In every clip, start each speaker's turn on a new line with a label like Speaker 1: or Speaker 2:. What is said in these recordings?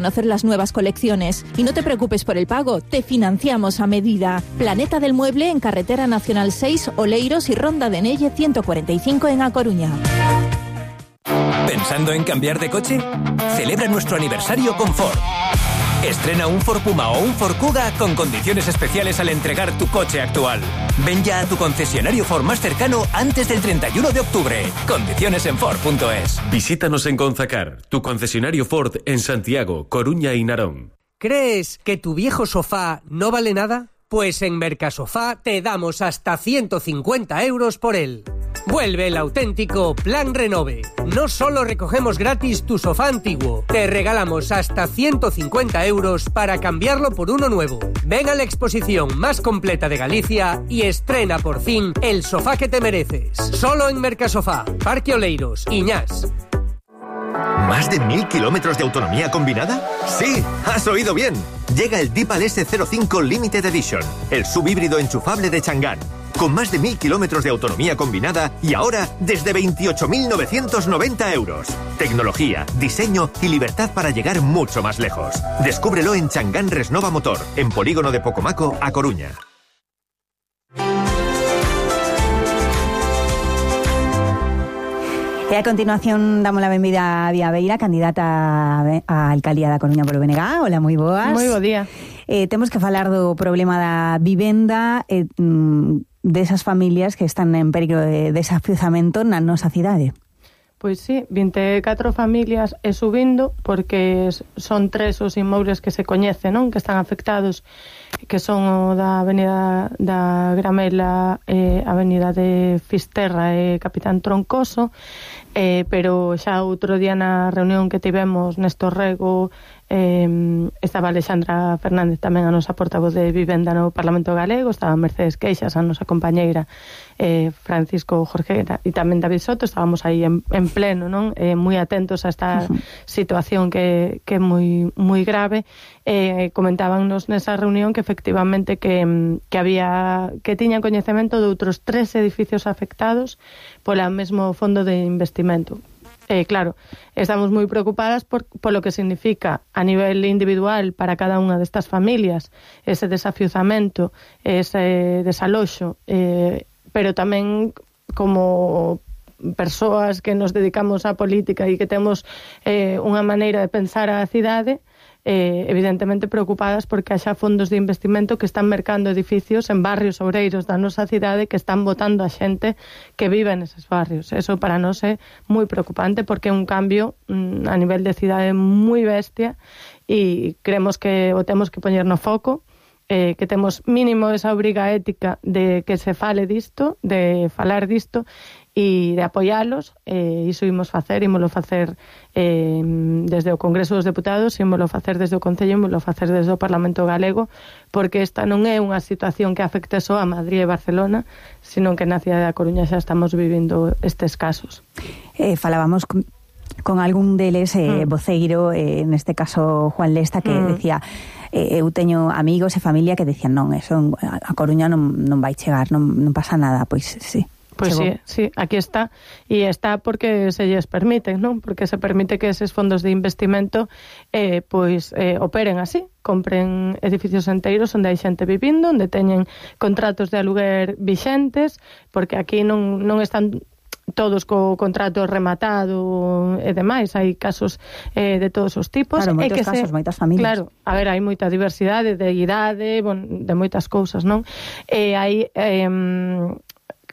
Speaker 1: Conocer las nuevas colecciones. Y no te preocupes por el pago, te financiamos a medida. Planeta del Mueble en Carretera Nacional 6, Oleiros y Ronda de Nelle 145 en A Coruña.
Speaker 2: ¿Pensando en cambiar de coche? Celebra nuestro aniversario con Ford. Estrena un Ford Puma o un Ford Kuga con condiciones especiales al entregar tu coche actual. Ven ya a tu concesionario Ford más cercano antes del 31 de octubre. Condiciones en Ford.es.
Speaker 3: Visítanos en Gonzacar, tu concesionario Ford en Santiago, Coruña y Narón.
Speaker 4: ¿Crees que tu viejo sofá no vale nada? Pues en Mercasofá te damos hasta 150 euros por él. Vuelve el auténtico Plan Renove. No solo recogemos gratis tu sofá antiguo, te regalamos hasta 150 euros para cambiarlo por uno nuevo. Ven a la exposición más completa de Galicia y estrena por fin el sofá que te mereces. Solo en Mercasofá, Parque Oleiros, Iñás.
Speaker 5: ¿Más de 1000 kilómetros de autonomía combinada? ¡Sí! ¡Has oído bien! Llega el Deepal S05 Limited Edition, el subhíbrido enchufable de Chang'an, con más de 1000 kilómetros de autonomía combinada y ahora desde 28.990 euros. Tecnología, diseño y libertad para llegar mucho más lejos. Descúbrelo en Chang'an Resnova Motor, en Polígono de Pocomaco, A Coruña.
Speaker 6: E a continuación damos a benvida a Día Beira, candidata a alcaldía da Coruña polo BNG. Hola, moi boas.
Speaker 7: Moi bo día.
Speaker 6: Temos que falar do problema da vivenda desas familias que están en perigo de desafiuzamento na nosa cidade.
Speaker 7: Pois sí, 24 familias e subindo, porque son 3 os inmobles que se coñecen, non? Que están afectados, que son o da Avenida da Gramela, Avenida de Fisterra e Capitán Troncoso, pero xa outro día na reunión que tivemos Néstor Rego, estaba Alexandra Fernández, tamén a nosa portavoz de Vivenda no Parlamento Galego, estaba Mercedes Queixas, a nosa compañeira, Francisco Jorge e tamén David Soto. Estábamos aí en pleno, non? Moi atentos a esta situación que é moi grave. Comentábanos nesa reunión que efectivamente que tiñan coñecemento de outros 3 edificios afectados pola mesmo fondo de investimento. Claro, estamos moi preocupadas polo que significa a nivel individual para cada unha destas familias ese desafiuzamento, ese desaloxo, pero tamén como persoas que nos dedicamos á política e que temos unha maneira de pensar a cidade, evidentemente preocupadas porque haxa fondos de investimento que están mercando edificios en barrios obreiros da nosa cidade que están botando a xente que vive neses barrios. Eso para nós é moi preocupante porque é un cambio a nivel de cidade moi bestia e creemos que o temos que poñer no foco, que temos mínimo esa obriga ética de que se fale disto, de falar disto e de apoialos. Iso imos facer desde o Congreso dos Deputados, imos facer desde o Concello, imos facer desde o Parlamento Galego, porque esta non é unha situación que afecte só a Madrid e Barcelona, sino que na cidade da Coruña xa estamos vivindo estes casos.
Speaker 6: Falábamos con algún deles, voceiro, neste caso Juan Lesta, que decía... eu teño amigos e familia que decían non, eso a Coruña non vai chegar, non pasa nada, pois sí.
Speaker 7: Pois sí, aquí está. E está porque se lles permite, non? Porque se permite que eses fondos de investimento operen así, compren edificios enteiros onde hai xente vivindo, onde teñen contratos de aluguer vixentes, porque aquí non están todos co contrato rematado e demais, hai casos de todos os tipos.
Speaker 6: Claro, moitos casos, moitas familias.
Speaker 7: Claro, a ver, hai moita diversidade de idade, de moitas cousas, non?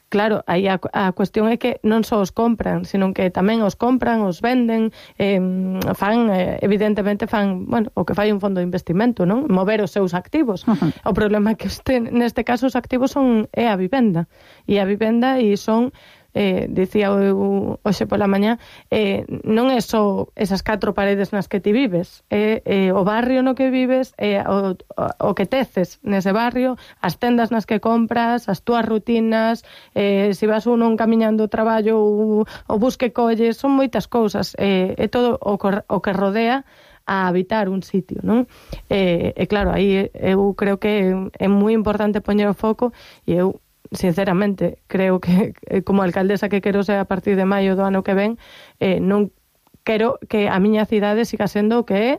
Speaker 7: Claro, aí a cuestión é que non só os compran, sino que tamén os compran, os venden, evidentemente fan, o que fai un fondo de investimento, non? Mover os seus activos. O problema é que neste caso os activos é a vivenda. E a vivenda son... dicía hoxe pola mañá, non é só esas 4 paredes nas que ti vives, o barrio no que vives, o que teces nese barrio, as tendas nas que compras, as túas rutinas, se vas uno camiñando o traballo, o bus que colles, son moitas cousas, é todo o que rodea a habitar un sitio, non? E claro, aí eu creo que é moi importante poñer o foco, e eu sinceramente creo que como alcaldesa que quero ser a partir de maio do ano que ven, non quero que a miña cidade siga sendo o que é